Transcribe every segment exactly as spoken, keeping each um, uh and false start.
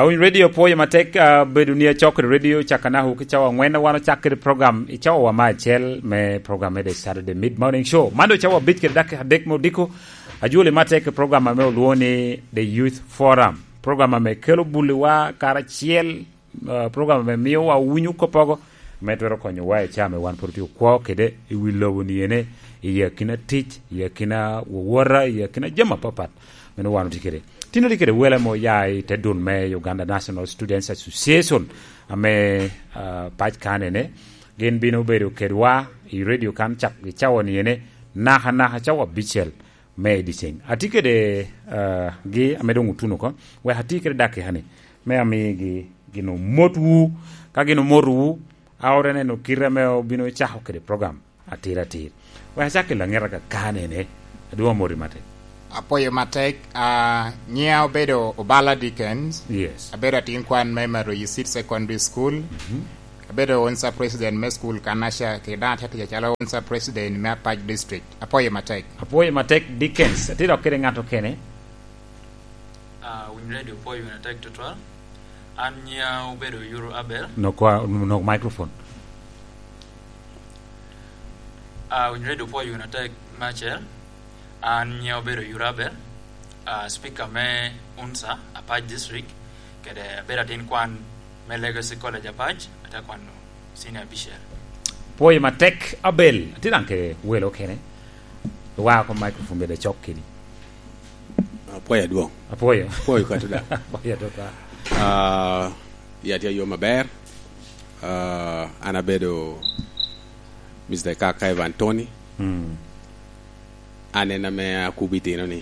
Owiny Radio, pwoyo matek, ah, bedo ni acok kede radio caka naka ki cawa angwen, wan ocak kede program i cawa wa me acel me program me The Saturday Mid Morning Show. Man doŋ cawa abic kede dakika adek me odiko. Ajwoli matek i program ame olwoŋo ni The Youth Forum. Program ame kelo buliwa karacel, ah, program ame miowa winyo koppogo, ame twero konyowa i caa ame wan pwod otye okwo kede i wi lobo ni ene, i akina tic, i akina wowota, i akina jami apapat. Meno wan otye kede. Tin otye kede wele mo ya i te dul me Uganda National Students Association, ame, ah, pac kan ene. Gin bino bedo kedwa i radio kan cak i cawa ni ene, naka naka cawa abicel me i dyeceŋ. Atye kede, ah, gi ame doŋ otuno oko, wek atye kede dakika ni, me amigi gin omotwu. Ka gin omotowu, a ote neno kite ame obino cako kede program atir atir. Wek acak i laŋeta ka kanene, adwoŋ amoti matek. Apwoyo matek, ah, nyiŋa obedo Obala Dickens. Yes. Abedo atin kwan me Maroyi Seed Secondary School. Mhm. Abedo onsa president me school kanaca, kede daŋ atye tic acalo onsa president me Apac District. Apwoyo matek. Apwoyo matek, Dickens. Atye dok kede ŋat okene. Ah, Winy Radio pwoyo win atek tutwal. An nyiŋa obedo Yuru Abel. Nok kwa-, nok microphone. Ah, Winy Radio pwoyo win atek me acel. An nyiŋa obedo Yuru Abel. Ah, speaker me unsa, Apac District. Kede abedo atin kwan me Legacy College Apac, ate kwano senior bishop. Pwoyo matek, Abel. Atye daŋ ke welo kene. Wa ko microphone bede cok kedi. Apwoyo adwoŋ. Apwoyo. Apwoyo ka tuda. Apwoyo tuda. Ah, ya tye yo maber. Ah, an abedo Mister Kaka Evan Tony. Mm. An en ame akubo itino ni.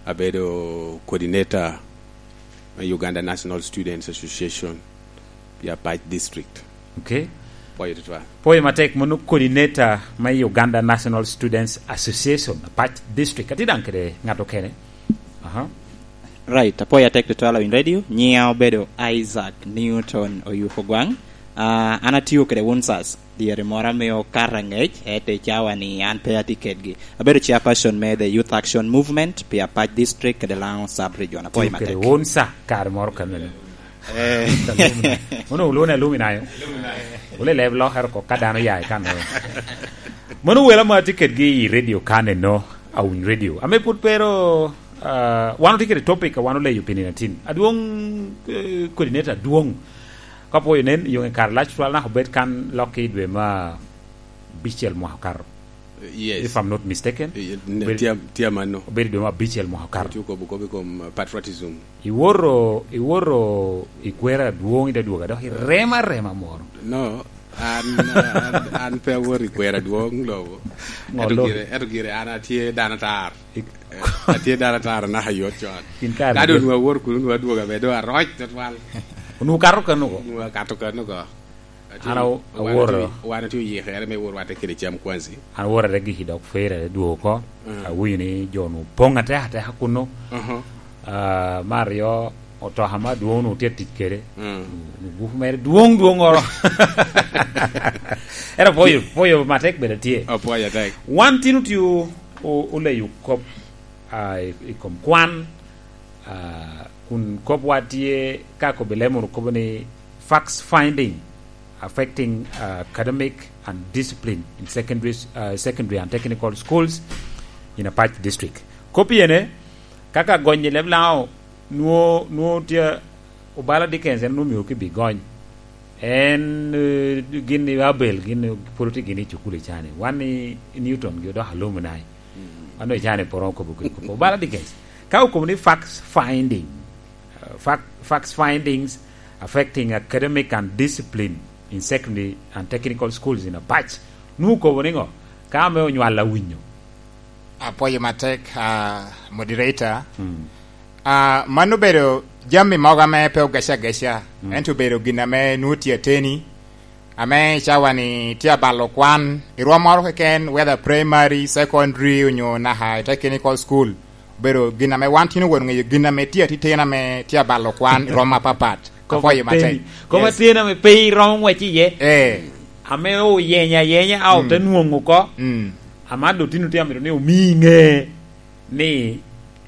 Abedo coordinator me Uganda National Students Association, pi Apac District. Okay. Pwoyo tutwal. Pwoyo matek, mono coordinator me Uganda National Students Association, Apac District. Atye daŋ kede ŋat okene. Aha. Right, apwoyo atek tutwal Winy Radio. Nyiŋa obedo Isaac Newton Oyuko Gwaŋ. Ah, an atio kede unsas. Dyere moro amio kara ŋec, ento i cawa ni an pe atye kedgi. Abedo chairperson me The Youth Action Movement pi Apac District kede Lango Sub Region. Apwoyo matek. Kede unsa kare moro kameno. Eh. Mono olwone alumni ayo. Ole leb lokere oko ka dano ya i kan. Mono wela ma atye kedgi i radio kan eno, Awiny Radio. Ame pwod pero, ah, wan otye kede topic a wan oleyo pi nino atin. Adwoŋ, eh, coordinator adwoŋ. Ka pwoyo nen, yo kare lac twal naka obed kan lok i dwe ma abicel mwaka okato. Yes. If I'm not mistaken. Eh, ne, obed-, tye, tye amanno. Obedo dwe ma abicel mwaka okato. Tye okobo kop i kom, uh, patriotism. Iwoto, iwoto i kwero adwoŋ i te dwogo, dok irema rema moro. No, an, an, an pe awoto i kwero adwoŋ lobo. Ŋo lobo? Ento gire, ento gire an atye dano atar. Ik- Eh, atye dano atar anaka yot con. Kin kare ka doŋ nwa-, nwa awoto kuno, nwa adwogo abe doŋ aroc tutwal. Onwoŋo kato kano ko? Onwoŋo akato kano ko. Atye, an aw-, wan aworo. Atye, wan atye oyikere me wor wate kede cam kwanzi. An aworo ate giki dok fere ate dwogo oko. Mm. Awinyo ni jo onwoŋo poŋ atek ateka kuno. Mhm. Ah, me aryo, otoka ma adwoŋ onwoŋo tye atic kede. Mm. Onwoŋo gupu mere dwoŋ dwoŋ oro. Ento pwoyo, pwoyo matek bene tye. Oh, pwoyo atek. Wan tin otye o-, o-, oleyo kop, ah, i, i kom kwan, ah, kun kopwa tye ka kobbe lemo kobo ni facts finding affecting, uh, academic and discipline in secondary, uh, secondary and technical schools in Apac District. Kop ene, kaka gonye leb Lango, nwo-, nwo tye Obala Dickens en nwo mio ki bi gony. En, eh, gin i Abel, gin i polo tye gin i cukul i cani. Wan i Newton gi odok alumni. Mm. Wan i cani poro kobo kwe kobo. Obala Dickens. Ka okobo ni facts finding, uh, fac-, facts findings affecting academic and discipline in secondary and technical schools in Apac. Nwo kobo ni ŋo? Ka ame onywal awinyo. Apwoyo matek, ah, moderator. Mm. Ah, mano obedo jami mogo ame pe ogeca ageca, mm, ento obedo gin ame nwoŋo tye ateni, ame i cawa ni tye abalo kwan, i rwom moro keken, whether primary, secondary, onyo naka i technical school. Obedo gin ame wan tin owot ŋeyo gin ame tye atitino ame tye abalo kwan i rwom apapat. Kop ateni. Apwoyo matek. Kop ateni ame pe iromo ngwec iye. Eh. Ame oyenyo ayenya, a ote nwoŋo oko. Mm. Ama dotino tye amito ni omi ŋe ni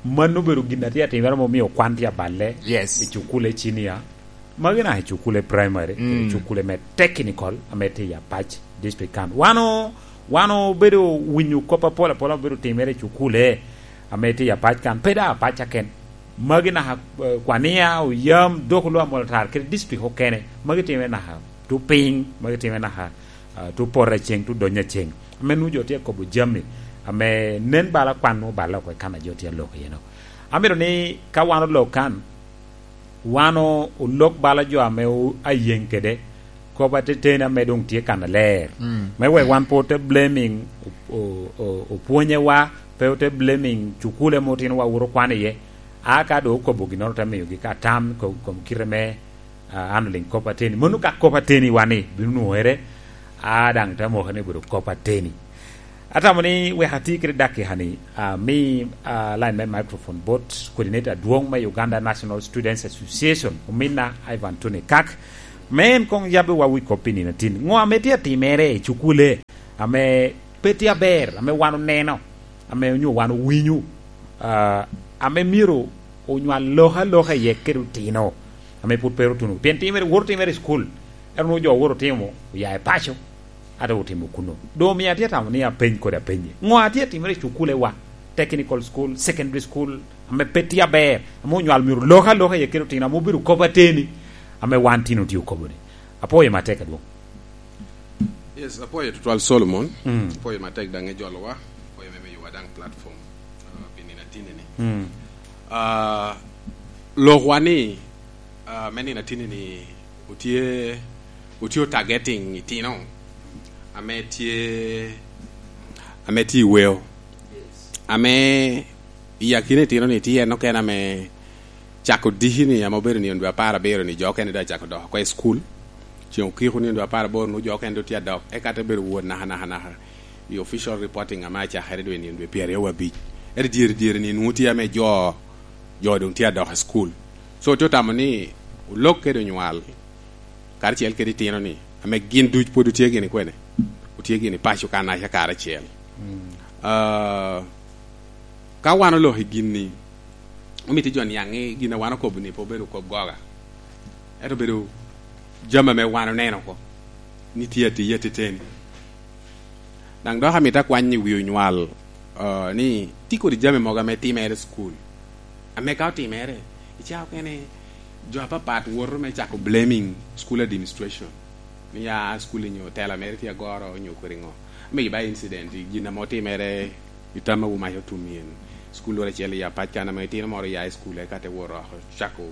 Mano obedo gin a tye atimere ma omio kwan tye aballe Yes. i cukule cinia. Magi naka i cukule primary, Mm. i cukule me technical, ame tye i Apac district kan. Wan o-, wan obedo winyo kop apol apol obedo timere i cukule ame tye i Apac kan. Pe da Apac aken. Magi naka, eh, Kwania, Oyam, Dok, Oloo, Amolo, Tar, kede district okene. Magi timere naka tu piny, magi timere naka, ah, tu poto aceng, tu donyo aceng. Ame nu jo tye kobo jami, ame nen bala kwan nu bala oko i kan a jo tye aloko iye no. Amito ni ka wan olok kan, wan o-, olok bala jo ame o-, ayeŋ kede kop ateteni ame doŋ tye kan aler. Mm. Me wek wan pe ote blaming o-, o-, o-, opwonyewa, pe ote blaming cukule ame otinowa woto kwan iye. A ka doŋ okobo ginnoro, te miyogi ka tam ko-, kom kite me, ah, an oliŋ kop ateni. Mano ka kop ateni wa ni bino nwoŋere, a daŋ te moke ni obedo kop ateni. Atamo ni wek ati kede dakika ni, ah, mi, ah, line me microphone bot coordinator adwoŋ me Uganda National Students Association, ominna Ivan Tony Kak, me en koŋ yabbiwa wi kop pi nino atin. Ŋo ame tye atimere i cukule ame pe tye aber, ame wan oneno, ame onyo wan owinyo, ah, ame myero onywal lok aloka iye kede otino, ame pwod pe otuno. Pien timere, woto timere i cukul, ento nwoŋo jo woto timo, oya i paco, ate otimo kuno. Doŋ omio atye atamo ni apeny kodi apenye. Ŋo atye atimere i cukulewa, technical school, secondary school, ame pe tye aber, ame onywal myero lok aloka iye kede otino, ame obedo kop ateni, ame wan tino tye okobo ni. Apwoyo matek adwoŋ. Yes, apwoyo tutwal Solomon. Mm. Apwoyo matek daŋ i jolowa. Apwoyo me miyowa daŋ platform, uh, pi nino atinni ni. Mm. Uh, lokwa ni, uh, me nino atinni ni otye, otye targeting itino ame tye, ame tye i weo. Ame i akina itino ni tye en okene ame cako diki ni ame obedo nino dwe apar abiro ni jo okene doŋ acako dok oko i cukul. Ceŋ okiko nino dwe apar aboro nwoŋo jo okene doŋ tye adok. Eka te bedo wot naka, naka, naka. I official reporting ame acakere dwe nino dwe pyeraryo wa abic. Ento dyere, dyere ni nwoŋo tye ame jo, jo doŋ tye adok i cukul. So, tye otamo ni olok kede onywal karacel kede itino ni, ame gin duc pwod otye gini kwene? Otye gini paco kanaca karacel. Mm. Ah, ka wan oloko i gin-ni, omito jo niaŋ ni gin a wan okobo ni pe obedo kop goga. Ento obedo jami ame wan oneno oko ni tye atiya teteni. Daŋ dok amito akwany i wi onywal, ah, ni tye kodi jami mogo ame timere i cukul. Ame ka otimere, i cawa okene, jo apapat woto me cako blaming school administration. Ni ya school nyo tela mere tye agoro, nyo kodi ŋo. Ame i ba incident, i gin ame otimere i Tama wu Mac Otum yen. School loro acel i Apac kan ame itino moro ya i school, eka te wot oko, cako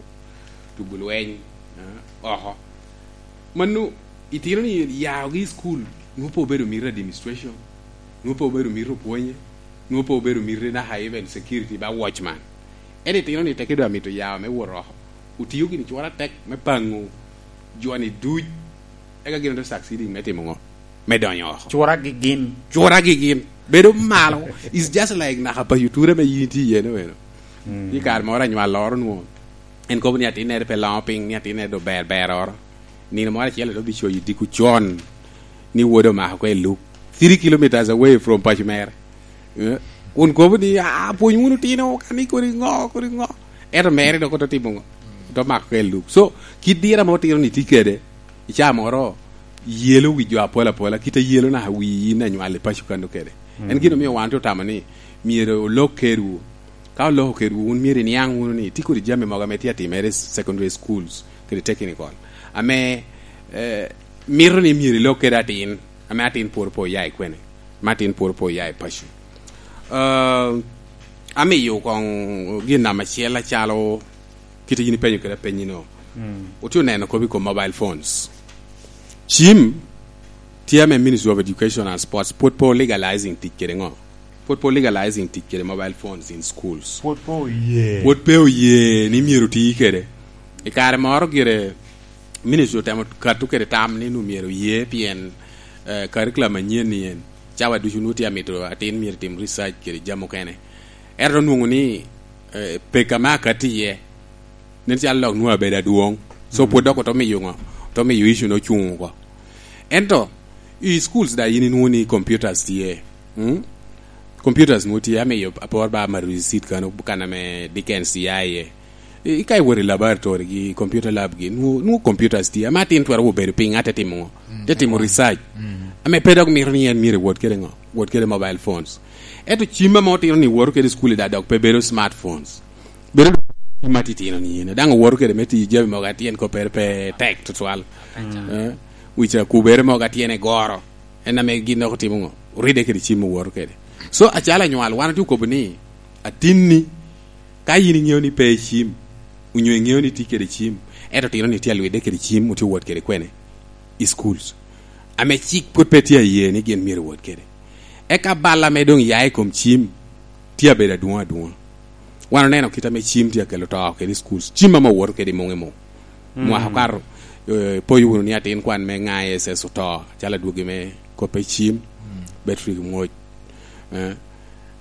tugo lweny, eh, oko. Mano, itino ni yaogi i school, nwoŋo pe obedo mito administration, nwoŋo pe obedo mito opwonye, nwoŋo pe obedo mito naka even security ba watchman. Ento itino ni teke doŋ amito yao me wot oko. Otio gini cwor atek me paŋo joni duc, eka gin ote succeeding me timo ŋo? Me donyo oko. Cwora gi gin. Cwora gi gin. Bedo malo. It's just like naka pa yuture me yin tye iye no eno. Mm. Ni kare moro anywal loro nwoŋo. En kobo ni atinnere pe loŋo piny, ni atinnere do ber ber oro. Nino moro acel ento bicoyo diko con ni wode omako ko i luk. Three kilometers away from paco mere. Eh, kun kobo ni, "Ah, pwony wunu tino, kani kodi ŋo, kodi ŋo." Ento mere dok oto timo ŋo? Oto mako ko i luk. So, kit dira ma otino ni tye kede, i caa moro, yelo wi jo apol apola, kit a yelo naka wi in anywal i paco kano kede. En gin omio wan te otamo ni, myero olok kedwu. Ka oloko kedwu, wun myero iniaŋ wunu ni tye kodi jami mogo ame tye atimere i secondary schools kede technical, ame, eh, mito ni myero ilok kede atin, ame atin pwod pe oya i kwene, ame atin pwod pe oya i paco. Eh, amiyo koŋ gin namba acel acalo kit a yin ipenyo kede apenyi-no. Mm. Otye oneno kop i kom mobile phones. Cim tye ame Ministry of Education and Sports pwod pe legalizing tic kede ŋo? Pwod pe legalizing tic kede mobile phones in schools. Pwod pe oye. Pwod pe oye ni myero oti kede. I kare moro gire Ministry otemo kato kede tam ni nu myero oye pien, eh, curriculum manyen ni en. Cawa ducu nu tye amito atin myero tim research kede jami okene. Ento onwoŋo ni, eh, peka me akati iye, nen calo lok nwoŋo abedo adwoŋ. So, pwod dok oto miyo ŋo? Oto miyo issue-nu ocuŋ oko. Ento, i schools da yin inwoŋo ni computers tye. Mm? Computers nwoŋo tye, amiyo apor ba ma receipt kano, kan ame Dickens ya iye. I, ka iwot i laboratory gi computer lab gi, nwoŋo, nwoŋo computers tye, ame atin twero obedo piny, ate timo ŋo? Mm, te timo research. Mm. Ame pe dok mito ni en myero ewot kede ŋo? Wot kede mobile phones. Ento cim ame otino ni woto kede i school i da dok pe bedo smartphones. Bedo cim atitino ni ene. Daŋ owoto kede me tiyo jami mogo atyen koppere pe tek tutwal. Mm. Eh, wica kubere mogo atyen egoro. En ame gin dok otimo ŋo? Oride kede cim owoto kede. So, acalo anywal, wan otye okobo ni, atinni, ka yin iŋeo ni pe i cim, onyo iŋeo ni tye kede cim, ento tino ni tye alwidde kede cim, otye owot kede kwene? I schools. Ame cik pwod pe tye aye ni gin myero owot kede. Eka bal ame doŋ ya i kom cim, tye abedo adwoŋ adwoŋ. Wan oneno kit ame cim tye akelo to kede i schools. Cim ame owoto kede i muŋ i muŋ. Mm. Mwaka okato, eh, ipoyo wunu ni atin kwan me ŋa S S oto, calo adwogi me koppe cim, mm, battery mwoc. Eh,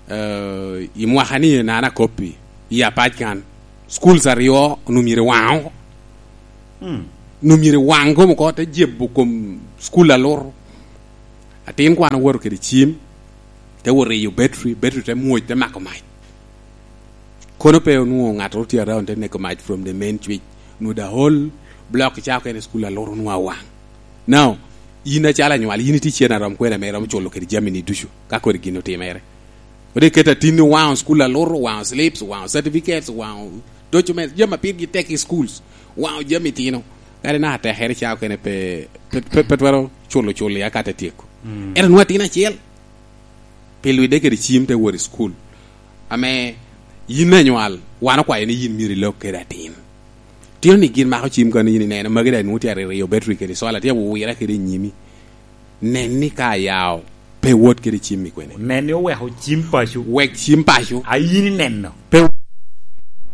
eh, i mwaka ni nana koppi, i apac kan, schools aryo onwoŋo myero waŋ oko. Mm. Onwoŋo myero waŋ kom oko, te jebo kom school alur. Atin kwan owoto kede cim, te wot riyo battery, battery te mwoc, te mako mac. Kono pe onwoŋo ŋattoro tye around te neko mac from the main switch. Onwoŋo the whole block ca okene school alur onwoŋo awaŋ. Now, yin acalo anywal, yin itye cen arom kwene ame iromo culo kede jami ni ducu, ka kodi gin otimere. Kodi iketo atinni owaŋo school alur, owaŋo slips, owaŋo certificates, owaŋo documents, jami a pirgi tek i schools, owaŋo jami tino. Kadi naka tekere ca okene pe, pe, pe, pe twero culo cul ya ka te tyeko. Mm. Ento nwoŋo atin acel. Pi lwidde kede cim te wot i cukul, ame yin anywal, wan okwayo ni yin myero ilok kede atin. Tino ni gin mako cim kano yin ineno, magi daŋ nwoŋo tye aririyo battery kede sola, tye awira kede i nyimi. Nen ni ka ayao, pe wot kede cim i kwene. Nen ni oweko cim paco. Wek cim paco. A yin ineno. Pe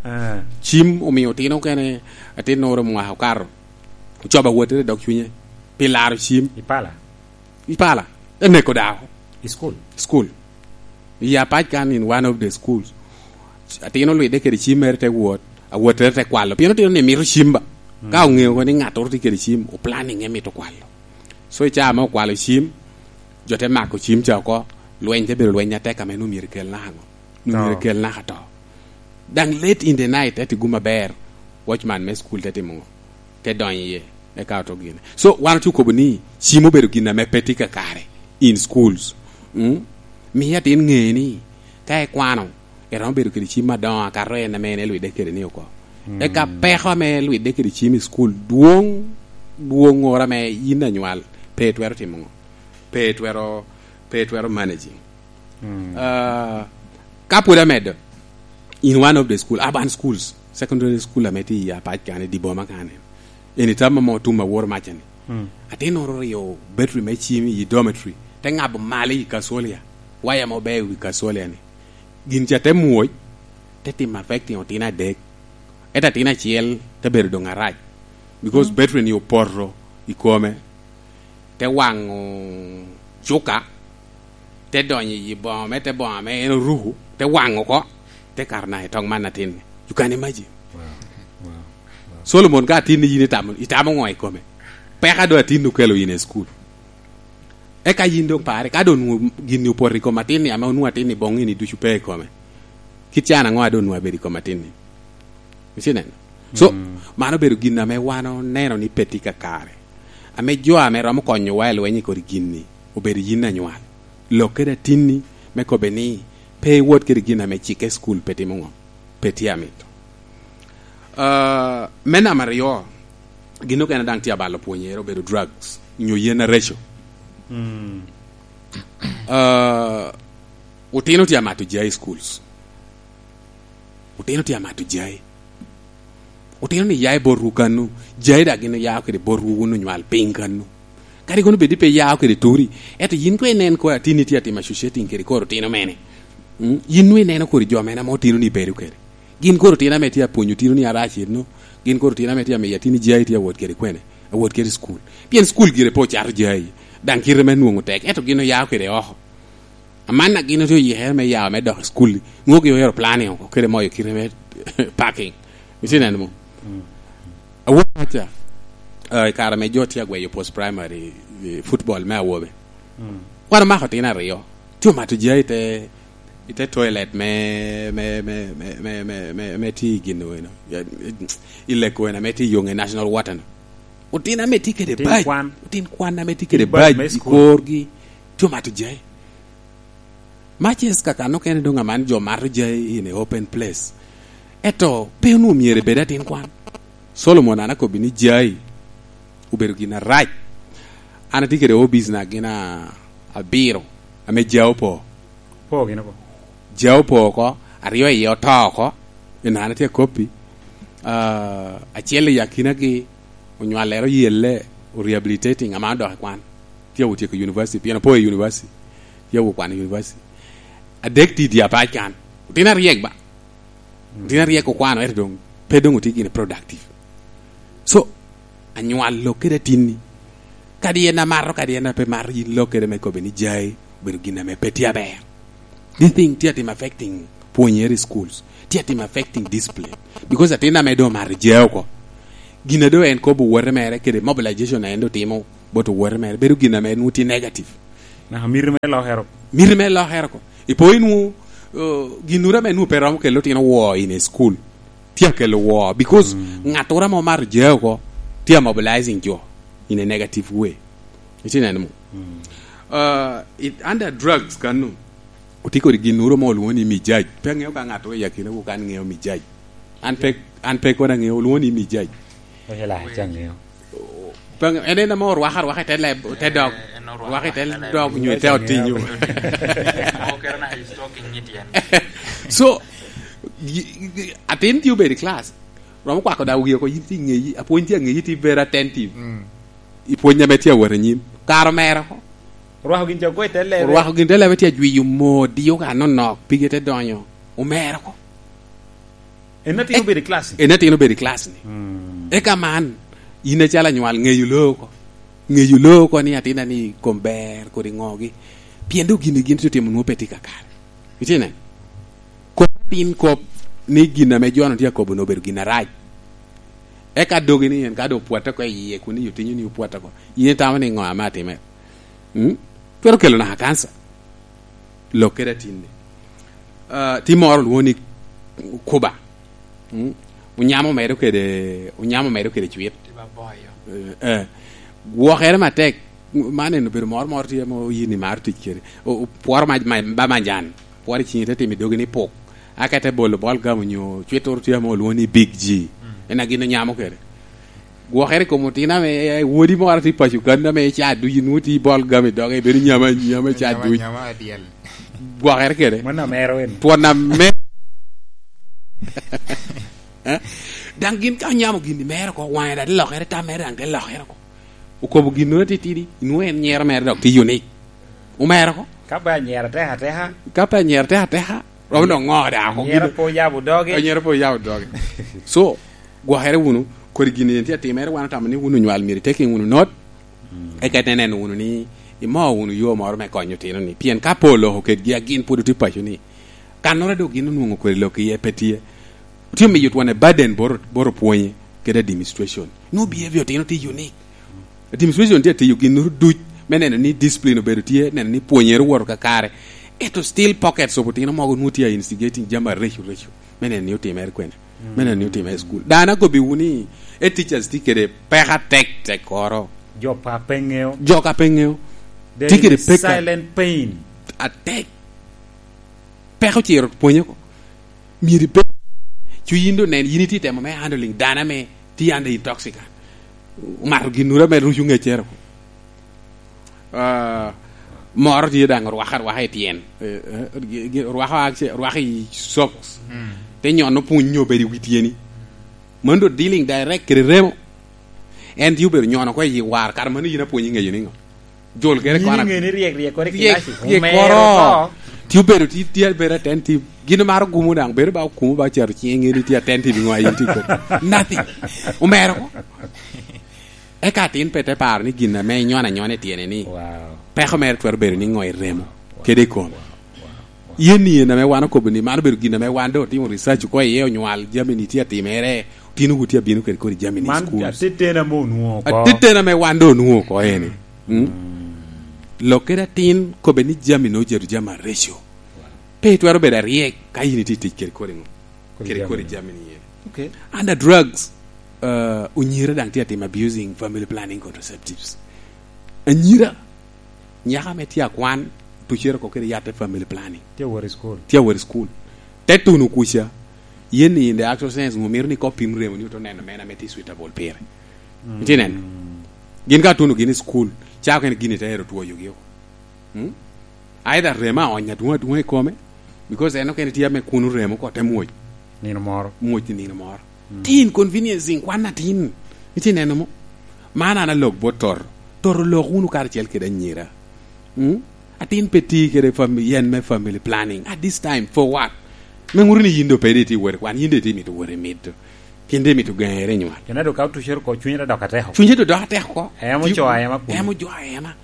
Ah. Cim omio otino okene, atinnoro mwaka okato, ocobo awottere i dog cunye, pi laro cim. I pala? I pala. Te neko dako. I school? School. I apac kan in one of the schools. Atin olwidde kede cim mere te wot, awottere te kwalo. Pien otino ni mito cim ba. Mm. Ka oŋeo ni ŋattoro tye kede cim, o planning e mito kwalo. So i caa ame okwalo cim, jo te mako cim ca oko, lweny te bedo lweny atek ame nwoŋo myero kel naka ŋo? Nwoŋo myero kel naka to. Daŋ late in the night, eti gum aber, watchman me school te timo ŋo? Te donyo iye, eka oto gine. So, wan otye okobo ni cim obedo gin ame pe tye kakare in schools. Mm? Miyo atin ŋe ni ka ikwano, eromo bedo kede cim adoŋo akato en ame en elwidde kede ni oko. Mm. Eka peko ame elwidde kede cim i school dwoŋ, dwoŋŋoro ame yin anywal pe itwero timo ŋo? Pe itwero, pe itwero managing. Mm. Ah, ka pwod amedo, in one of the school, urban schools, secondary school ame tye i apac kane, di boma kane. Eni tam ame otum awor macani. Mm. Atinnoro oryo battery me cim i dormitory, te ŋabo malo i kacolia, waya mo ober i wi kacolia ni. Gin ca te mwoc, te timo affecting otino adek. Ento atin acel te bedo doŋ arac. Because, mm, battery ni opoto i kome, te waŋo cuka, te donyo i boŋo me te boŋo ame en oruku, te waŋo oko, te kato naka i tong man atin-ni. You can imagine. Wow. Wow. Wow. Solomon, ka atin ni yin itamo, itamo ŋo i kome? Peka do atin okelo in i school. Eka yin doŋ pare, ka doŋ onwoŋo gin-ni opoto i kom atin-ni, ame onwoŋo atin-ni boŋo ni ducu pe i kome. Kit can aŋo a doŋ onwoŋo abedo i kom atin-ni? Iceno? So, mm, mano obedo gin ame wan oneno ni pe tye kakare. Ame jo ame romo konyowa i lweny i kodi gin-ni, obedo yin anywal. Lok kede atinni me kobbe ni pe iwot kede gin ame cikke i cukul pe timo ŋo? Pe tye amito. Ah, me namba aryo, gin okene daŋ tye abalo pwonyere obedo drugs, nyo yen areco. Mm. Ah, otino tye amato jai i schools. Otino tye amato jai. Otino ni ya i botwu kanu, jai daŋ gin oya kede botwu wun onywal piny kanu. Kadi kono bed ni pe ya kede turi, ento yin kono inen kono atinni tye atimo associating kede kor otino mene. Mm? Yin nwoŋo ineno kodi jo mene ame otino ni bedo kede. Gin kor otino ame tye apwonyo otino ni arac eno, gin kor otino ame tye amiyo atinni jai tye awot kede kwene, awot kede i cukul. Pien cukul gire pe ocato jai, daŋ kite me nwoŋo tek, ento gin oya kede oko. Amanna gin otye oyikere me ya me dok i cukul-li. Nwoŋo gin ohero planning oko, kede moyo kite me parking. Iceno mo? Mm. Awobi paca, ah, i kare ame jo tye agweyo post primary, eh, football me awobe. Mm. Wan omako otino aryo. Tye omato jai te, I te toilet me, me, me, me, me, me, me, me tye i gin wena. Ya, i lek wena me tye i yonge national water no. Otin ame tye kede Otin bac. Kwan. Otin kwan ame tye kede Otin bac bac me i school. Korgi. Tye omato jai. Matches kaka nokene dong aman jo mato jai in a open place. Eto pe onwo myero ebed atin kwan. Solomon an akobbi ni jai obedo gin arac. An atye kede obis na gin a-, abiro ame jai opo. Po gin oko. Jai opo oko, aryo iye oto oko, en an atye akoppi. Ah, acel i akinagi onywallere oyelle, o rehabilitating, ama odok i kwan. Tye awotyeko i university, pien opo i university. Tye awo kwan i university. Adek tye i dye apac kan. Otino aryek ba. Otino aryek okwano, ento dong, pe dong otye gine productive. So, anywal lok kede atinni. Kadi en amato, kadi en ape mato, yin lok kede me kobe ni jai, obedo gin ame pe tye aber. This thing tye atim affecting pwonyere i schools. Tye atim affecting discipline. Because atin ame dong omato jai oko. Gin a dong en kobo owote mere kede mobilization a en dong timo bot owote mere. Bedo gin ame nwo tye negative. Naka miti mere lokere oko. Miti mere lokere oko. Ipo inwo, uh, ginnoro ame nwo pe romo kelo otino woo in a school. Tye akelo woo. Because mm, ngat ora ma omato jai oko, tye a mobilizing jo in a negative way. Iti neno mo? Mm. Uh, it, under drugs kanu, otye kodi ginnoro mo olwongo ni mijaj. Pe aŋeo ka ŋat oya kine wo kan ŋeo mijaj. An pe, an pe kodi aŋeo, olwongo ni mijaj. Oye la, ca ŋeo. Pe aŋeo, en en ame orwako arwaka i te leb, te dog. Eh, en orwako arwaka i te dog nyo i te otinyo. Okero na he's talking it yen. So, y-, y-, atin tye obedo i class. Romo kwako da wiye oko, yin tye i ŋeyi, apwony tye i ŋeyi, tye very attentive. Mm. I pwony ame tye awot anyim. Kare omero oko. Orwako gin ca oko i te lebe. Orwako gin te lebe tye ajwiyo moo, diyo ka nonok, pige te donyo. Omero oko. En atin obedo i class ni? En atin obedo i class ni. Mm. Eka man, in acalo anywal, ŋeyo loo oko. Ŋeyo loo oko ni atina ni kom ber, kodi ŋogi. Pien dok gin, gin tye otimo nwo pe tye kakare. Itye neno? Kop atin kop ni gin ame jo-nu tye akobo-nu obedo gin arac. Eka dogi ni en ka doŋ opwotte oko i yie, kun i otinyo ni opwotte oko. In itamo ni ŋo ame atimere? Mm? Twero kelo naka kanca. Lok kede atinni. Ah, tye moro olwongo ni kuba. Mm? Onyamo medo kede, onyamo medo kede cwit. Tye baboyo. Eh, eh. Gwokere matek. Man en obedo moro moro tye ame oyin ni maro tic kede. O-, o-, pworo ma-, ma-, ba manjan. Pworo i ciŋi te timo i dogi ni puk. Aka te bolo bol gam onyo cwit turu tye ame olwongo ni Big G. Mm. En a gin onyamo kede. Gwokere i kom otino ame, eh, wodi moro tye i paco kan ame ca duc inwo tye i bol gam i doge, ibedo nyama, nyama ca duc. Nyama, nyama adyel. Gwokere kede. Mano amero en. Twon ame-, eh? Daŋ gin ka onyamo gin i mere oko, waŋe daŋ te lokere, tam mere daŋ te lokere oko. Okobo ginnoro atitidi, inwoŋo en nyero mere dok tye unique. Omero oko. Ka pe anyero atek ateka. Ka pe anyero atek ateka, romo dok ŋo daŋ oko. Anyero gin-, pe oyabo doge. Anyero pe oyabo doge. So, gwokere wunu, kodi gin yen tye atimere, wan otamo ni wun onywal myero itekin wunu not, mm, eka ite neno wunu ni imo wunu yo moro me konyo otino-ni. Pien ka pe oloko kedgi a gin pwod otye paco-ni, kannoro dok gin onwoŋo kwede lok iye pe tye. Otye omiyo twon a burden boro, boro pwonye kede administration. No behavior otino tye unique. Administration tye atiyo ginnoro duc me neno ni discipline obedo tye, neno ni pwonyere owoto kakare. Ento still pockets of otino mogo nwo tye a instigating jami areco reco. Me neno ni otimere kwene. Mm. Me neno ni otimere i school. Dano akobi wuni, e teachers tye kede peka tek tek koro. Jo pa pe ŋeo. Jo ka pe ŋeo. There is a silent pain. Tye kede peka atek. Peko ciro pwonye ko. Myero ibed, cu yin doŋ nen, yin itye temo me handling dano ame tye under intoxicant. Omato ginnoro ame ruco ŋeccere ko. Ah, moro tye daŋ orwako arwaka i tyen. Eh, eh, gi-, gi-, orwako akce-, orwako i socks. Mm. Te nyono pwony nyo obedo i wi tyeni. Mano doŋ dealing direct kede remo. En tye obedo nyono ko i war, kara mano yin apwonyi ŋeyo niŋo? Jol kede kona. Yin iŋe ni ryek, ryek kore i ryek, kilasi. Ryek omero koro. Ti obedo ti, ti abedo attentive. Gin maro gumo daŋ, bedo ba okumo ba cero ciŋe, ŋe ni ti attentive ŋo a yin ti kodi. Nothing. Omero ko. Eka atin pe te paro ni gin ame inyono anyona i tyene ni. Wow. Peko mere twero bedo ni ŋo i remo. Wow. Kede i kome. Wow. Wow. Yen ni en ame wan okobo ni man obedo gin ame wan doŋ otimo research oko iye, onywal jami ni tye atimere, otino wu tye abino kede kodi jami ni i schools. Man atetena ame onwoŋo oko. Atetena ame wan doŋ onwoŋo oko eni. Mm? Mm. Lok kede atin kobbe ni jami ni ojeto jami areco. Pe itwero bedo aryek ka yin itye tic kede kodi ŋo? Kodi kodi jami ni yen. Okay. Under drugs, uh, onyira daŋ tye atim abusing family planning contraceptives. Anyira, nyaka ame tye akwan, tucere oko kede yatte family planning. Tye awot i school. Tye awot i school. Te tuno kuca, yen ni in the actual sense, ŋo mito ni kopim remo ni oto neno meno ame tye suitable pire. Mm. Itye neno? Gin ka tuno gin i school, cako kene gini te ero twoyogi oko. Mm? Either remo aony adwoŋ adwoŋ i kome, because en okene tye ame kuno remo oko te mwoc. Nino moro. Mwoc i nino moro. Mm. Ti inconveniencing kwan atin. Itye neno mo? Man an alok bot Toro. Toro lok wunu karacel kede anyira. Mm? Atin pe ti kede fam-, yen me family planning. At this time, for what? Me ŋuto ni yin do pe di ti wori kwan, yin de ti mito wori mito. Pien de mito gaŋere nywal. Kena do ka otucere oko, cunye te dok atek oko. Cunye te dok atek oko. Emo jo ayema kuno. Emo jo ayema.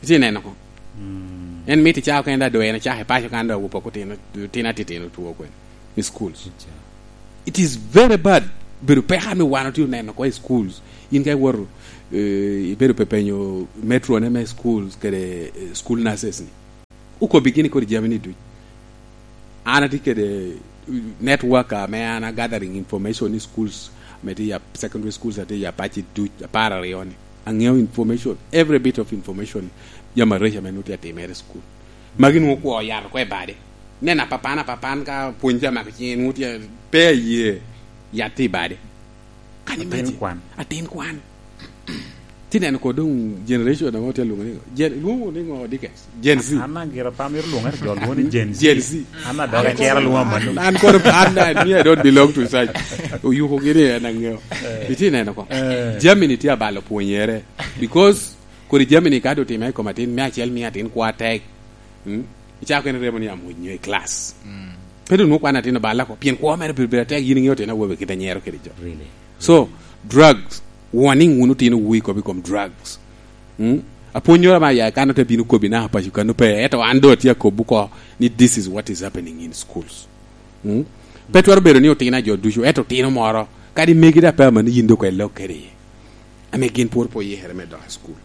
Itye neno ko? Mm. En mito icako kene da dwe, en ocako i paco kan da awobi oko tino, tino atitino two kwen i schools. It is very bad. Bedo peka ame wan otye oneno ko i schools. In ka iwoto, eh, ibedo pe penyo metro ne me schools kede, eh, school nurses ni. Okobi gini kodi jami ni duc. An atye kede network ame an a gathering information ni schools ame tye ya, secondary schools ame tye ya Apac duc, apar aryo ni. Aŋeo information, every bit of information, jami areco ame nwoŋo tye atimere i school. Magi nwoŋo kwo oyato ko i bade. Nen apapan, apapan ka pwony tye amako cinge, nwoŋo tye pe aye yat tye i bade. Can you imagine? Atin kwan. Atin kwan. Ti neno ko doŋ generation ame otye alwoŋo ni, Gen-, lwoŋo ni ŋo, Dickens? Gen Z. An, an gira pa mito lwoŋere jo lwoŋo ni Gen Z. Gen Z. An adok acel alwoŋo amanno. An kono, an, an, me I don't belong to such. Oyuko gini en aŋeo. Eh. Itye neno ko. Eh. Jami ni tye abalo pwonyere. Because kodi jami ni ka do time i kom atin, me acel miyo atin kwa tek. Mm? Icako kene remo ni amwony nyo i class. Mm. Pe doŋ nwoŋo kwan atin oballa ko. Pien kwo mere bedo, bedo atek, yin iŋeo tyen awobe kit anyero kede jo. Really? So, drugs, warning wunu tino wu i kop i kom drugs. Mm? Apwonnyoro ma ya kan ote bino kobi naka paco kano pe, eto an do atye akobo ko ni this is what is happening in schools. Mm? Pe twero bedo ni otino a jo ducu, eto otino moro, kadi megi da pe amanni yin do kwel lok kede iye. Ame gin pwod pe oyikere me dok i school.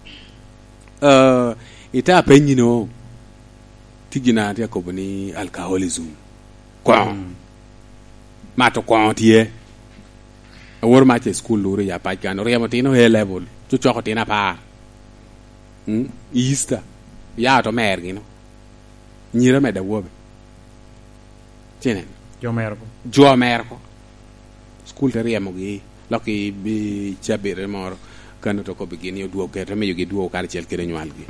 Uh, ita apenyi no, ti gin a tye akobo ni alcoholism. Koŋo. Mm. Mato koŋo tye. Awor mac i school luro ya pac kan, oryemo tino A level, cucoko tino apar. Mm? I Easter, ya to mer gino. Nyira med awobe. Tye neno. Jo mero ko. Jo mero ko. School te ryemogi, lok i, i cabit moro, kan oto kobbi gin ni odwog kede, te miyogi dwogo karacel kede nywalgi.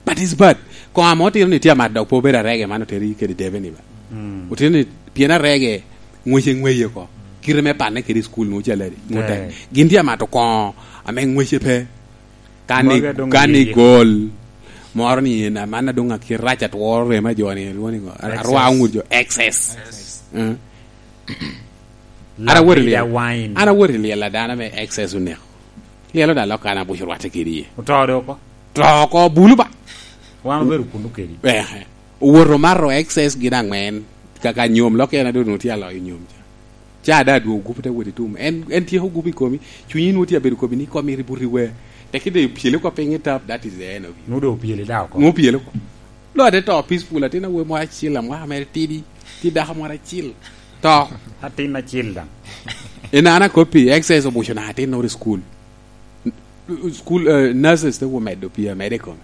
But it's bad. Koŋ ame otino ni tye amat dok pe obedo arege man oteri kede debe ni ba. Mm. Otino ni pien arege ŋwece ŋweye ko. Kite me panne kede i school nwoŋo caladi. Nwoŋo tek. Eh. Gin tye amato koŋo ame ŋwece pe. Kani, magi adong kani iye gol. Moro ni en, aman adong akit rac atworo rema jo ni, lwongo ni ngo? Excess. Arwa ŋut jo, excess. Excess. Eh. An awor i lyel. Wine. An awor i lyel a dano ame excess oneko. Lyel oda lok an abuc orwatte kedi iye. Oto do oko? To oko, bulu ba. Wan obedo kunu kedi. Eh, eh. Owoto mato excess gin aŋwen. Kaka nyom, lok en adong tye aloyo nyom ca. Ca da adwogo gupu te wot i tum. En, en tyeko gupu i komi. Cunyi nwoŋo tye abedo komi ni komi ri buti we. Teki de pyele ko piny i tap, that is the end of you. Nwoŋo do pyele da oko. Nwoŋo pyele ko. Lo ate to peaceful, atin awobi moro acil, amwaka mere tidi, ti dako moro acil. To. Atin acil daŋ. En an akoppi, excess obuco na atin noro i school. School, eh, nurses te wo medo pii amede i kome.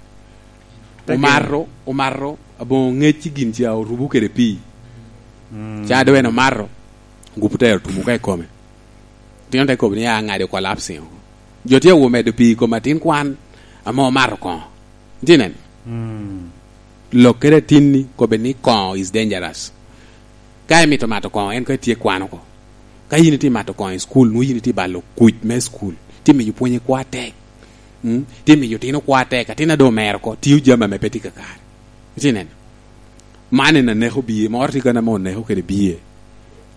Te gin- Omato, omato, aboŋo ŋec i gin ca orubu kede pii. Mm. Ca doŋ en omato, gupu te otumo ka i kome. Tino te kobo ni, "Ah, ŋadi collapsing oko." Jo tye awo medo pii i kom atin kwan, ame omato koŋo. Itye neno? Mm. Lok kede atinni, kobe ni koŋo is dangerous. Ka imito mato koŋo, en ka itye kwano oko. Ka yin itye mato koŋo i school, nwoŋo yin itye balo kuc me school. Tye miyo pwonye kwa tek. Mm? Tye miyo tino kwa tek. Atin a doŋ omero oko, tiyo jami ame pe tye kakare. Itye neno? Man en aneko biye, moro tye kene ame oneko kede biye.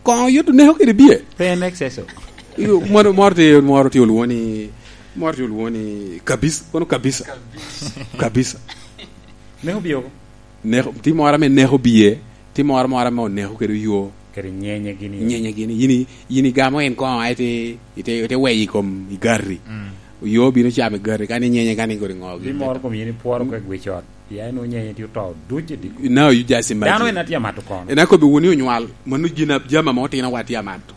Koŋo yot oneko kede biye. Pe en excess o. Iyo, moro, moro tye, moro tye olwoŋo ni, moro tye olwoŋo ni kabisa, kono kabisa. Kabisa. Kabisa. Neko biye oko? Neko, tye moro ame neko biye, tye moro moro ame oneko kede yo. Kede nyenye gini. Nyenye gini. Yin i-, yin igamo en koŋo, aye te, ite, ite weyo i kom i gari. Mm. Yo bino camo i gari, kani nyenye, kani kodi ŋo. Bi moro kom yin ipworo kek wi cot. Ya en onyenye tye oto duc i diko. Now you just imagine. Dano en atye amato kono. En akobi wuni onywal, mano gin a-, jami ame otino wa tye amato.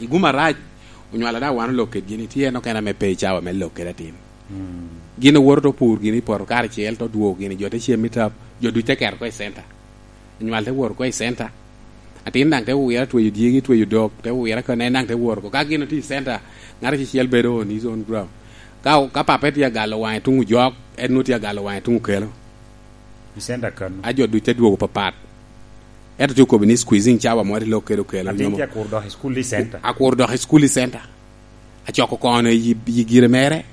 Iguma rac, onywal ada wan olok ked gini, tye en okene ame pe i cawa me lok kede atin. Mm. Gin owoto to pur gini i poto karacel, to dwogo gini, jo te cem i tap, jo duc te keto ko i center. Onywal te wor ko i center. Atin daŋ te wira tweyo dyegi, tweyo dok, te wira kene daŋ te wor ko. Ka gin otye i center, ŋat acel bedo on his own ground. Ka, ka pape tye agalo waŋe tuŋ ojok, en nwoŋo tye agalo waŋe tuŋ okelo. I center kano. A jo duc te dwogo papat. Ento tye okobo ni squeezing cawa mo te lok kede okelo. Atin nyomo. Tye akur dok i school i center. Akur dok i school i center. Acoko kono i, i gire mere.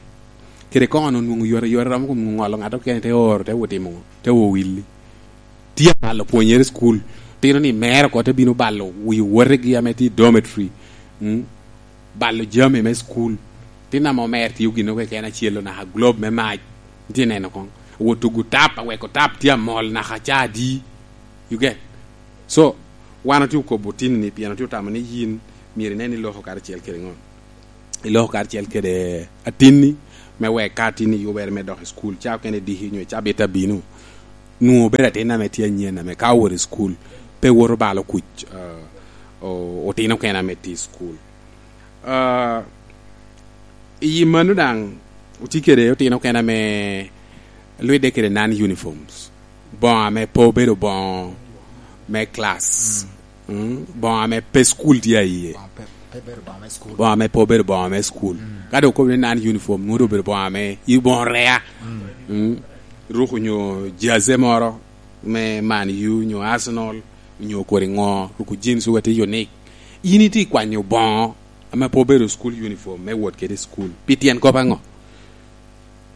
Kede kono onwoŋo yore, yore romo kun ŋolo ŋat okene te oro, te wot timo, te wowilli. Tye abalo pwonyere i cukul. Tino ni mere oko te bino balo wi wotegi ame tye i dormitory. Mm. Balo jami me cukul. Tin ame omer tiyo gin oko keken acel, onaka globe me mac. Tye neno koŋ. Wot tugo tap, aweko tap tye amol naka ca adi. You get? So, wan otye okobo tin ni, pien otye otamo ni yin myero inen ni iloko karacel kede ŋo? Iloko karacel kede atinni, me wek ka atinni yubere me dok i cukul, ca okene diki nyo cabit abino, nwoŋo obedo atin ame tye anyen, ame ka owoto i cukul, pe woto balo kuc, ah, o-, otino okene ame tye i cukul. Ah, i mano daŋ, otye kede otino okene ame lwidde kede non uniforms. Boŋo ame pe obedo boŋo me class. Mm. Mm, boŋo ame pe cukul tye a iye. Boŋo pe, pe bedo boŋo me cukul. Boŋo ame pe obedo boŋo me cukul. Mm. Ka doŋ okobo ni non uniform, nwoŋo doŋ obedo boŋo ame i boŋo rea. Mm. Mm. Ruko nyo jersey moro me Man U, nyo Arsenal, nyo kodi ŋo, ruko jeans wek te unique. In itye kwanyo boŋo ame pe obedo school uniform me wot kede i cukul. Pi tyen kop aŋo?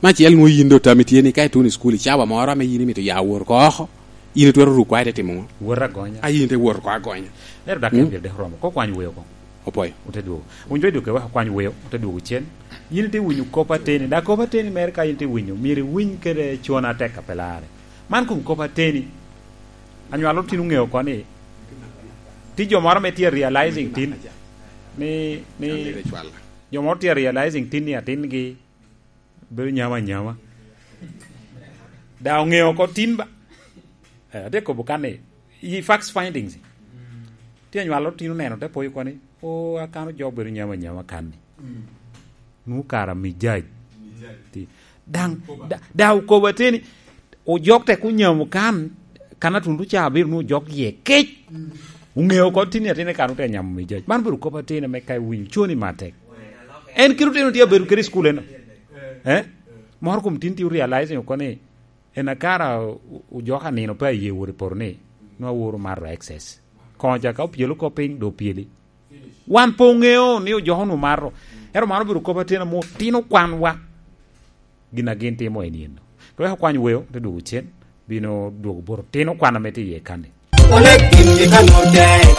Me acel, nwoŋo yin doŋ tammi tye ni ka ituno i cukul i cawa moro ame yin imito ya wot oko oko, yin itwero ruko a ite timo ŋo? Wot agonya. A yin ite wot oko agonya. Lero dakica, mm, pyero dek oromo. Ko kwany weo koŋ. Opoyo. Ote dwogo. Wun jo i duke wek okwany weo, ote dwogo cen. Yin ite winyo kop ateni. Da kop ateni mere ka yin ite winyo, myero iwiny kede con atek a pe larre. Man kom kop ateni. Anywalo tin oŋeo oko ni, ti jo moro ame tye realizing tin, ni, ni, jo moro tye realizing tin ni atingi bedo nyama nyama. Da oŋeo oko tin ba. Eh, ate kobo kan ni, i facts findings. Ti anywalo tin oneno te poyo koni, "O, akano jo bedo nyama nyama kan ni." Nu kara mijaj. Ti, daŋ, da, da okobo ateni, ojok tek onyamo kan, kan atundu ca abiro nu ojok iye kec. Oŋeo oko tin ni atin kan ote nyamo mijaj. Man bedo kop ateni ame ka iwinyo coni matek. En kite otino tye abedo kede i cukul eno. Eh? Moro kom tin tye realizing oko ni, en akara o-, ojok a nino pe aye wot i poto ni, nwa woro mato excess. Koŋo ca ka opyelo kop piny, do opyeli. Wan pe oŋeo ni ojok onwo mato. Ento man obedo kop ateni ame otino kwanwa. Gin a gin timo en yen. Ka wek okwany weo, te dwogo cen, bino dwogo bot otino kwan ame tye iye kan-ni. Onek gin i kano tek.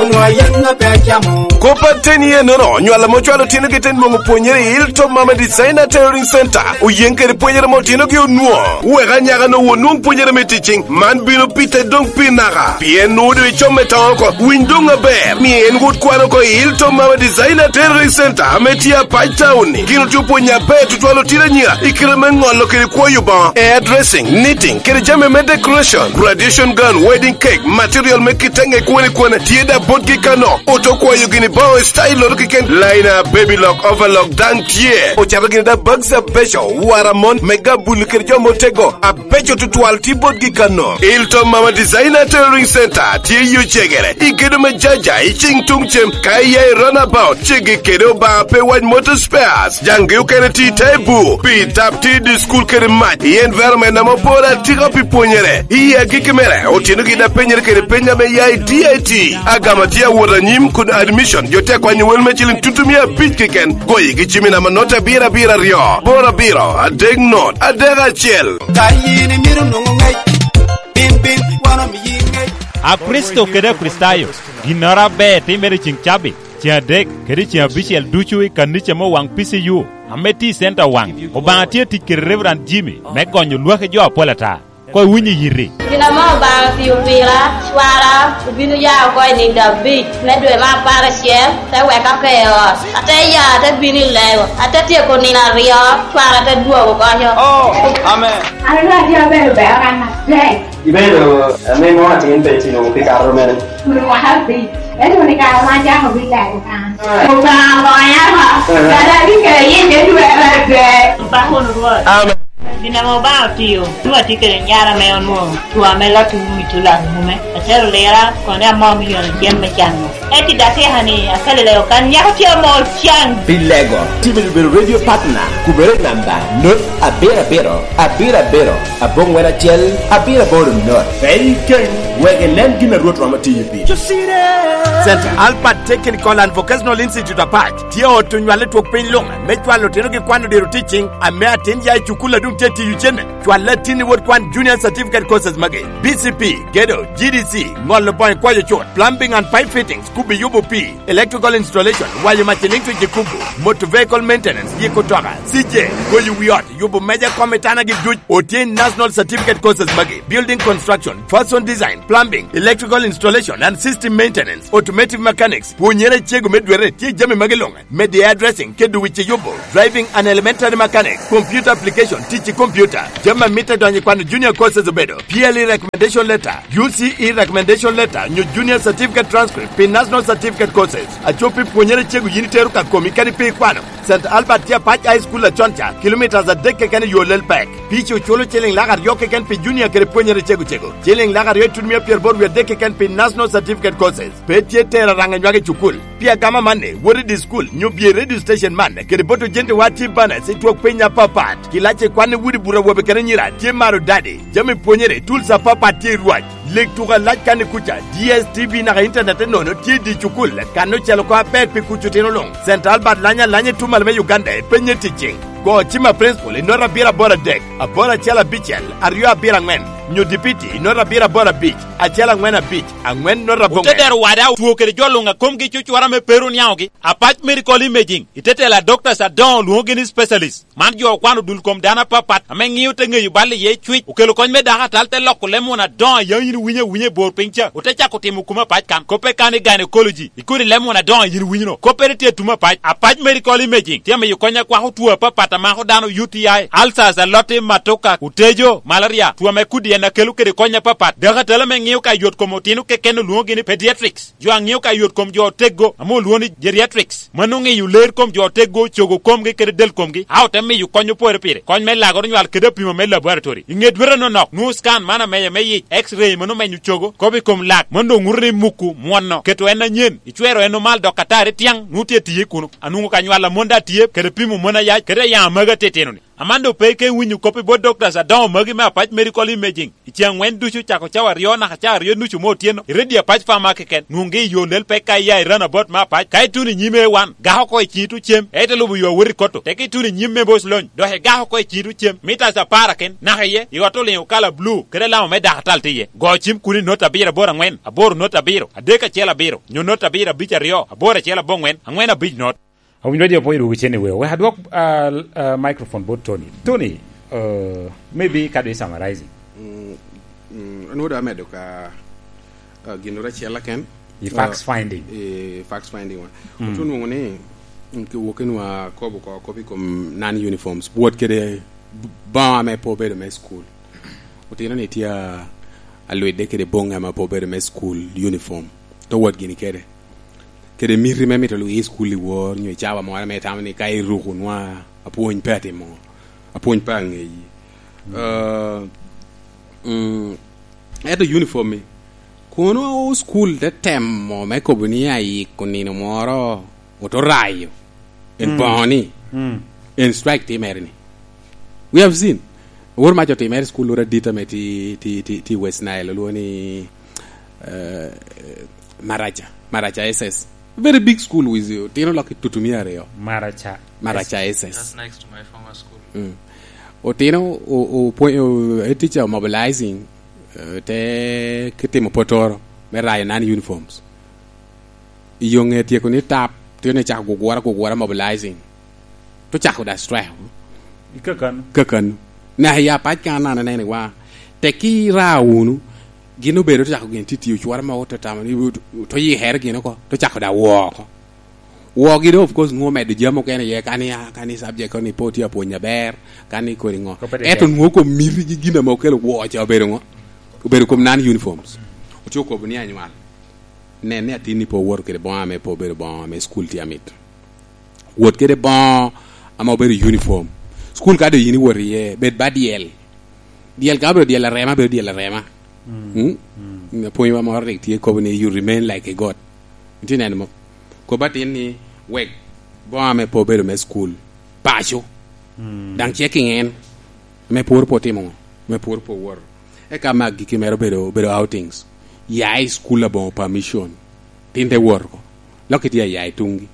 Onwa yen na pe acamo. Kop ateni enono, onywalo ame ocwalo otinogi te nwoŋo pwonyere i Hilltop Mama Designer Tailoring Center. Oyen kede pwonyere ame otinogi onwoŋo. Wek anyaka-nu onwoŋ pwonyere me teaching. Man bino pite doŋ pi naka. Pien nwoŋo doŋ icom me toŋo oko. Winy doŋ aber. Mi en wot kwan oko i Hilltop Mama Designer Tailoring Center ame tye Apac Town-ni. Gin otye opwonyo aber tutwal otino anyira i kite me ŋolo kede kwoyo boŋo, hairdressing, knitting, kede jami me decoration, graduation gown, wedding cake, material me kitenge kwene kwene, tye da botgi kano. Oto kwayo gini boŋo i style-loto keken, liner, baby lock, overlock, daŋ tye. Ocato gini da bags abeco, wara mon, me gabul kede jo motego, abeco tutwal tye botgi kano. Ilton Mama Designer Tailoring Center tye i Ocegere, i gedo me Jaja, i cing tuŋ cem, ka iya i runabout, ceggi kede Obaŋa pe wac Motor Spares. Jaŋgi okene tye i te bur, pi tap tye i dye cukul kede mac, i environment ame oporo atika pi pwonyere. I agikki mere, otino gin a penyere kede peny ame ya i D I T. Agama tye awot anyim kun admission, jo te kwanyo wel me ciling tutumia abic keken. Goyi gi cimi namba not abiro abiro aryo, boro abiro, adek not, adek acel. Ka yin imito nwoŋo ŋec, bin, bin, wan omiyi ŋec. A Kricito kede Akricitayo, ginnoro aber timere i ceŋ cabit, ceŋ adek, kede ceŋ abicel ducu i kanica me Owaŋ P C U, ame tye i Center Owaŋ. Obaŋa tye tic kede Reverend Jimmy me gonyo lwaki jo apol ata. Koŋ iwiny i yiti. Gin ame Obaŋa otio pira, cwara obino ya oko i nino abic me dwe me apar acel, te weka oko i ot. Ate ya, ate bino i lego, ate tyeko nino aryo, cwara te dwogo oko. Oh, amen. An onwoŋo atye abedo bero kan atek. Ibedo ame mom atin pe itino pi kato mene? Kun mwaka abic. Ento ni kare ma acako bino lego kan. Obaŋa okonya oko. Kara abikelo yie te dwe me adek. Opako wunu Rwot. Amen. Gin ame Obaŋa otio, nwoŋo atye kede nyara ame onwoŋo two ame lotto wumi tulan wume. Atero lira, kone amor me yono cem me cango. Ento i dakika-ni, akaleleo kan, nyako tye amor can. Pi lego, timo bedo radio partner, kubere namba, not abiro abiro, abiro abiro, abongwen acel, abiro aboro not. Pe ikeny, wek inen gin a Rwot romo tiyo piri. Saint Albert Technical and Vocational Institute Apac tye ot onywale twok piny luŋ me cwalo otinogi kwano diro teaching, ame atin ya i cukul a doŋ tye tiyo cene. Cwalle atin i wot kwan junior certificate courses magi: B C P, gedo, G D C, ŋolo boŋo kwayo cut, plumbing and pipe fittings, kubi yubo pii, electrical installation, wayo mac electric i kubu, motor vehicle maintenance, yiko toka, C J, goyo wi ot, yubo meja kom i tanagi duc. Otye i national certificate courses magi: building construction, fashion design, plumbing, electrical installation and system maintenance, automotive mechanics. Pwonyere cego me dwere tye i jami magi luŋ. Media addressing, kedo wic i yubo, driving and elementary mechanic, computer application, tic i computer, jami a mitte donyo i kwano junior courses obedo P L E recommendation letter, U C E recommendation letter, nyo junior certificate transcript pi national certificate courses. Acop pi pwonyere cego yin itero ka komi kadi pe ikwano. Saint Albert tye Apac High School acon ca, kilometres adek keken i yo lel pek. Pici oculo ciliŋ lak aryo keken pi junior kede pwonyere cego cego, ciliŋ lak aryo itutumia pyeraboro wie adek keken pi national certificate courses. Pe tye tero araŋa nywak i cukul. Pi agama amanni, wot i di cukul, nyo bye i radio station man, kede bot ojentewa tye banas i twok piny apapat. Kilac i kwan i udi buto awobe kede anyira tye maro dadi. Jami pwonyere, tools apapat tye i rwac. Leg tuko alac kan i kuca, D S T V naka internet nono tye i di cukul, kan ocel oko aber pi kuc otino luŋ. Saint Albert lanyo alanya i tumal me Uganda, ipenye ticing. Go cim a principal i nota abiro aboro adek, aboro acel abicel, aryo abiro aŋwen, nyo dipiti i nota abiro aboro abic, acel aŋwen abic, aŋwen nota aboro. Otedero wada otwo kede jo luŋ a komgi cucura me pe ru niaŋogi. Apac Medical Imaging, i te telo a doctors adoŋo lwoŋogi ni specialist. Man jo okwano dul kom dano apapat ame ŋio te ŋeyo bal iye cwic, okelo kony me dako atal, te loko leb won adoŋo a yaŋ yin iwinyo awinya i bor piny ca, ote cako timo kum apac kan. Koppe kan i gynecology, i kodi leb won adoŋo a yin iwinyo-no. Koppere tye i tum apac. Apac Medical Imaging tye amiyo kony akwako two apapat a mako dano, U T I, ulcers, alotti, matoka, otejo, malaria, two ame kudi en a kelo kede kony apapat. Dako atal ame ŋio ka yot kom otino keken olwoŋogi ni pediatrics. Jo a ŋio ka yot kom jo oteggo ame olwoŋo ni geriatrics. Mano ŋeyo ler kom jo oteggo, cogo komgi kede del komgi, a ote miyo kony opore pire, kony me lagoro nywal kede apimo me laboratory. I ŋe dwete nonok, nwoŋo scan man ameya me yic, X-ray mano menyo cogo, kop i kom lak, mano doŋ ŋuto ni muku mwono, keto en anyen, icwero en omal dok atari tyaŋ, nwoŋo tye tiye kuno. Anwoŋo ka nywal a mon daŋ tye, kede pimo mon ayac, kede ayaŋ amagi atitino-ni. Aman doŋ pe ike winyo kop i bot doctors adoŋo magi me Apac Medical Imaging. I ceŋ aŋwen ducu, cako cawa aryo naka cawa aryo nucu me otyeno, i redio Apac Pharma keken, nwoŋgi i yo lel pek ka iya i roundabout me Apac. Ka ituno i nyim A one, gak oko i ciŋi tuŋ cem, ite lubo yo awot i Kotto. Teke ituno i nyim me Boc Lony, dok igak oko i ciŋi tuŋ cem, mitas apar aken, naka iye, i ot oliŋo kala bulu, kede alama me dako atal tye iye. Go cim kuno i not abiro aboro aŋwen, aboro not abiro, adek acel abiro, nyo not abiro abic aryo, aboro acel aboŋwen, aŋwen abic not. Awinyo radio pwony dwogo cen i weo. Wek adwok, ah, ah, microphone bot Tony. Tony, uh, maybe ka dwe summarizing. Mm, mm, an wod amedo ka, ah, gin wod acel aken. I fact, ah, finding. I fact finding wa. Mm. Otu nwoŋo ni, mm, ki wokinwa kobo ko, kobo i kom non uniforms. Wot kede b-, boŋo ame pe obedo me school. Otino ni tye a, alwidde kede boŋo ame pe obedo me school uniform. To wot gini kede. Kede miti me mito lwak i cukul i wor, nyo i cawa moro ame itamo ni ka iruko nwa apwony pe atimo, apwony pe aŋeyi. Mm. Eh, mm, ento uniform-mi, kono cukul te temo me kobo ni ayiko nino moro, oto rayo. En, mm, boŋo ni, mm, en strike timere ni. We have seen. Wor mac otimere i cukul loro adit ame ti, ti, ti, ti West Nile, olwoŋo ni, eh, Maracha, Maracha S S. Very big school with, uh, tino lok i tutumia aryo. Maracha. Maracha S S. Just next to my former school. Mm. Otino, o, o, pwe-, o, e teacher mobilizing, eh, te kitimo potoro me rayo non uniforms. I yo ŋe tyeko ni tap, tye ni cako gugura, gugura mobilizing. To cako da strike. I kakano. Kakano. Na ya pac kan an anene wa. Tekki ra wunu, gin obedo to cako gin tye tiyo, cwara mogo te tamo ni to yikere gin oko, to cako da wo oko. Wogi do, of course, nwoŋo medo jami okene iye, kani, a, kani subject koni pe otye apwony aber, kani kodi ŋo. Ento nwoŋo kom miti gi gin ame okelo wo ca obedo ŋo? Obedo kom non uniforms. Otye okobo ni anywal. Nen ni atinni pe owoto kede boŋo ame pe obedo boŋo ame school tye amit. Wot kede boŋo ame obedo uniform. School ka doŋ yin iwoto iye, bed ba dyel. Dyel ka obedo dyel arema, bedo dyel arema. Mm. Mm? Mm. Apwonywa moro rik tye kobo ni, "You remain like a god." Itye neno mo? Kobo atin ni, "Wek boŋo ame pe obedo me school paco." Mm. Daŋ ce kiŋen. Me pwor pe otimo ŋo? Me pwor pe owoto. Eka me agikki mere obedo, obedo outings. Ya i school aboŋo permission. Tin te wot oko. Lok itye aya i tuŋgi.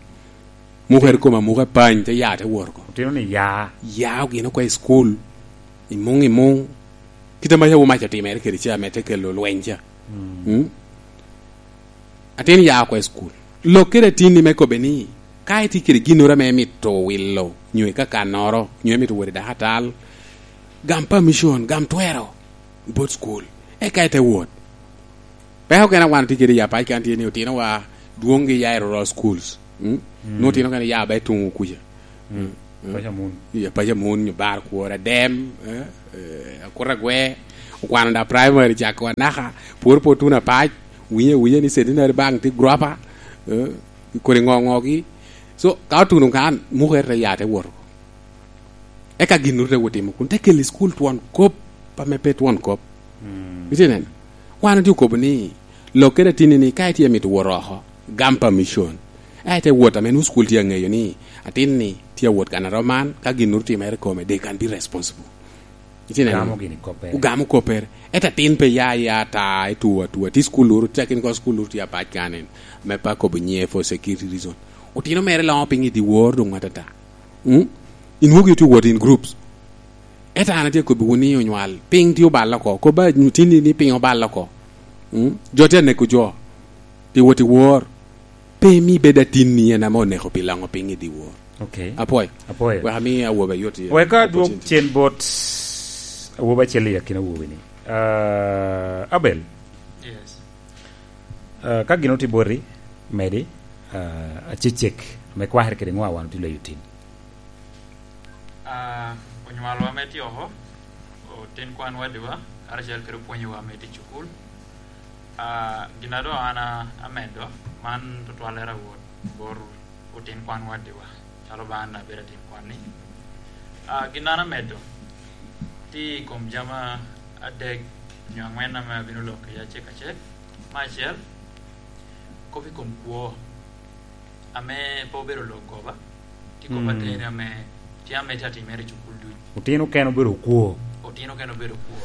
Mukere kom amuka pany, te ya te wot oko. Otino ni ya. Ya ogin oko i school. I muŋ, i muŋ. Kite ma yawu mac otimere kede ca, me te kelo lweny ca. Mm. Mm? Atin ya oko i school. Lok kede atinni me kobbe ni, ka itye kede ginnoro ame imito wilo, nyo ikakannoro, nyo imito wot i dakatal, gam permission, gam twero, bot school. Eka ite wot. Peko kena wan tye kede i apac kan tye ni otinowa dwoŋgi ya i rural schools. Mm? Mm. Nwoŋo otino kene ya ba i tuŋ kuca. Mm. Mm. Paco amun. Iya, paco amun, nyo bar kwor adem, eh, eh, akut agwe, okwano da primary cako anaka, pwor pe otuno apac, winyo, winyo ni centenary bank tye gropa, eh, kodi ŋo ŋogi. So, ka otuno kan, mukere te ya te wot oko. Eka gin ru te wot timo kun, te kelo i school twon kop, pa me pe twon kop. Mm. Itye neno? Wan otye okobo ni, lok kede atinni ni, ka itye mito wot oko, gam permission. Eka ite wot ame nwoŋo school tye aŋeyo ni, atinni tye awot kan aroman, ka gin ru timere kome, they can be responsible. Itye neno? Ogamo gini koppere. Ogamo koppere. Ento atin pe ya, ya ata, ituo atua. Tye school ru, tye akin ko school ru tye apac kanen. Me pa kobo nyiŋe for security reason. Otino mere loŋo piny i dyewor doŋ atata. Mm? Inwogi otye wot in groups. Ento an atye akobbiwu ni onywal, piny tye oballe oko. Kobba atinni ni piny oballe oko. Mm? Jo tye aneko jo. Tye wot i wor. Pe imi bed atinni en ame oneko pi loŋo piny i dyewor. Ok. Apwoyo. Apwoyo. Wek ami awobe ayot i Wek adwog opportunity. Cen bot awobi acel i akina awobi-ni. Ah, Abel. Yes. Ah, ka gin otye boti, medi, ah, acecek, ame kwakere kede ŋo a wan otye leyo tin. Ah, onywalwa me tye oko, otin kwan wadiwa, karacel kede opwonyowa me tye i cukul. Ah, gin a doŋ an a-, amedo, man tutwallere awot bot otin kwan wadiwa, calo ba an abedo atin kwan-ni. Ah, gin an amedo, tye i kom jami adek nyo aŋwen ame abino lok kede acek acek. Me acel, kop i kom kwo. Ame pe obedo lok goba, tye kop Mm. ateni ame tye ame tye atimere i cukul duc. Otino kene obedo okwo. Otino kene obedo okwo.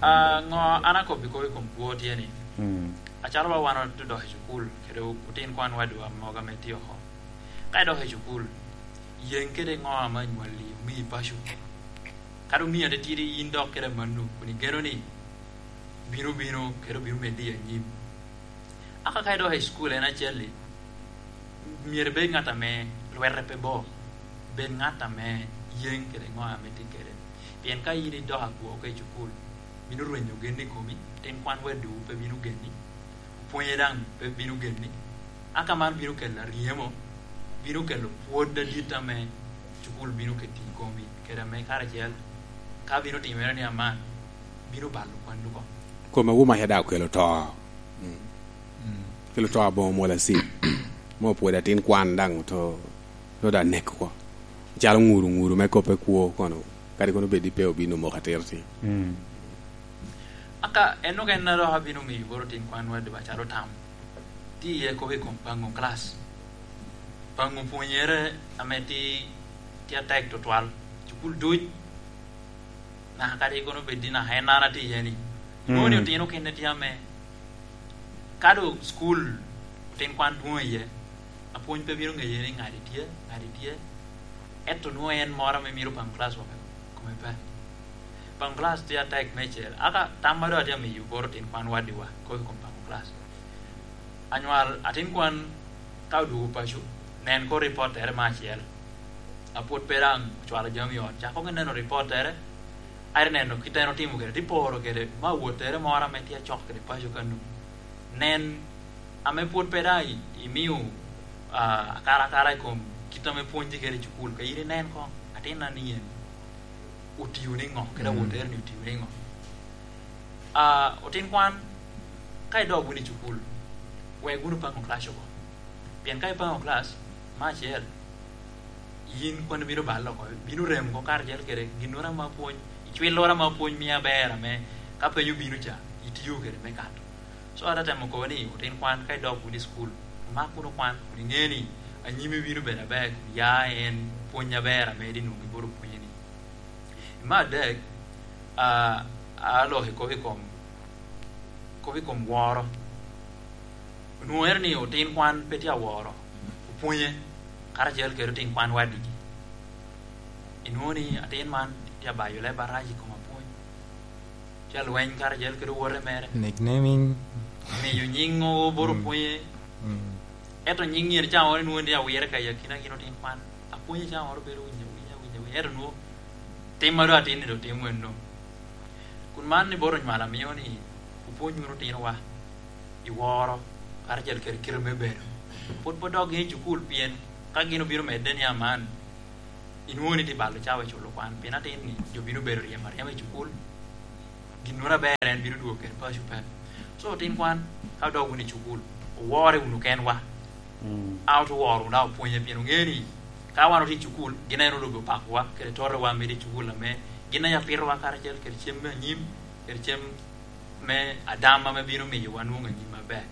Ah, ŋo an akobbi kop i kom kwo tye ni, Mm. acalo ba wan odok i cukul, kede otin kwan wadiwa mogo ame tye oko. Ka idok i cukul, yeŋ kede ŋo ame anywalli omii paco. Kadi omii atitidi in dok kede amanno, kun igeno ni bino, bino, kede obino meddi i anyim. Aka ka idok i cukul en acel-li, myero ibed ŋat ame lwete pe bo, bed ŋat ame yeŋ kede ŋo ame tye kede. Pien ka in idok akwo oko i cukul, bino rwenyo gen i komi, tin kwan wadiwu pe bino geni, opwonye daŋ pe bino geni. Aka man bino kelo aryemo, bino kelo pwod adit ame cukul bino keto i komi, kede ame karacel, ka bino timere ni aman, bino balo kwannu oko. Kome wu maca daŋ okelo to. Mm. Mm. Kelo to aboŋo mwol acid. Mo pwod atin kwan daŋ oto, to da nek oko. Calo ŋuru, ŋuru me koppe kwo kono. Kadi kono bed ni pe obino moko atir ti. Mm. Aka, en dok en a dok abino miyo bot otin kwan wadiwa calo tam. Tye iye kop i kom paŋo class. Paŋo pwonyere ame tye, tye atek tutwal. Cukul duc. Naka kadi kono bed ni naka en an atye iye ni. Mm. Inwoŋo ni otino kene tye ame, ka doŋ cukul otin kwan dwoŋ iye, apwony pe bino ŋeye ni ŋadi tye, ŋadi tye. Ento nwoŋo en moro ame mito paŋo class woko kome pe. Paŋo class tye atek meicel. Aka tam ma doŋ atye amiyo bot otin kwan wadiwa, kop i kom paŋo class. Anywal, atin kwan ka odwogo paco, nen koŋ ripottere me acel. A pwod pe daŋ ocwalo jami i ot, cak koŋ ineno ripottere. Aye neno kit en otimo kede, tye poro kede, ma wottere moro ame tye acok kede paco kanu. Nen, ame pwod pe daŋ i-, imio, ah, akarakara i kom kit ame pwonyi kede i cukul, ka in inen koŋ, atinna ni en otio niŋo, kede awottere-ni otio niŋo. Ah, otin kwan, ka idok wunu i cukul, wek wunu paŋo class oko. Pien ka ipaŋo class, me acel, yin kwan bino balo oko, bino remo oko karacel kede ginnoro ame apwony, icwilloro ame apwony mio aber ame ka peny obino ca, itio kede me kato. So, ate temo kobo ni, otin kwan, ka idok wunu i cukul, mak wunu kwan, kun iŋe ni anyimi bino bedo aber, kun ya en pwony aber ame idhi nwoŋo i bot opwonye-ni. Me adek, a, aloko i kop i kom, kop i kom woro. Onwoŋere ni otin kwan pe tye aworo opwonye karacel kede otin kwan wadigi. Inwoŋo ni atin man tye abayo leb arac i kom apwony. Tye alweny karacel kede owote mere. Nicknaming. Miyo nyiŋ o bot opwonye. Mm. Ento nyiŋ yen cawa wano inwoŋo ni awire ka i akina gin otin kwan. Apwonye cawa wano bedo winyo, winyo, winyo, winyo. Ento nwoŋo tim ma doŋ atin-ni doŋ timo enno. Kun man ni bot onywalo amio ni opwony wunu otinowa i woro, karacel kede kite me bedo. Pwod pe dok gin i cukul, pien ka gin obino medde ni aman, inwoŋo ni tye balo cawa i culo kwan, pien atin-ni jo bino bedo ryemo aryema i cukul, ginnoro aber en bino dwogo kede paco pe. So, otin kwan, ka odok wunu i cukul, owore wunu kenwa. Mm. A ote woro wunu, a opwonye, pien oŋeo ni ka wan otye i cukul, gin aye onwoŋo lobo pakowa, kede totowa medo i cukul ame gin aye apitowa karacel kede cem me anyim, kede cem me adam ame bino miyo wan nwoŋo anyim maber.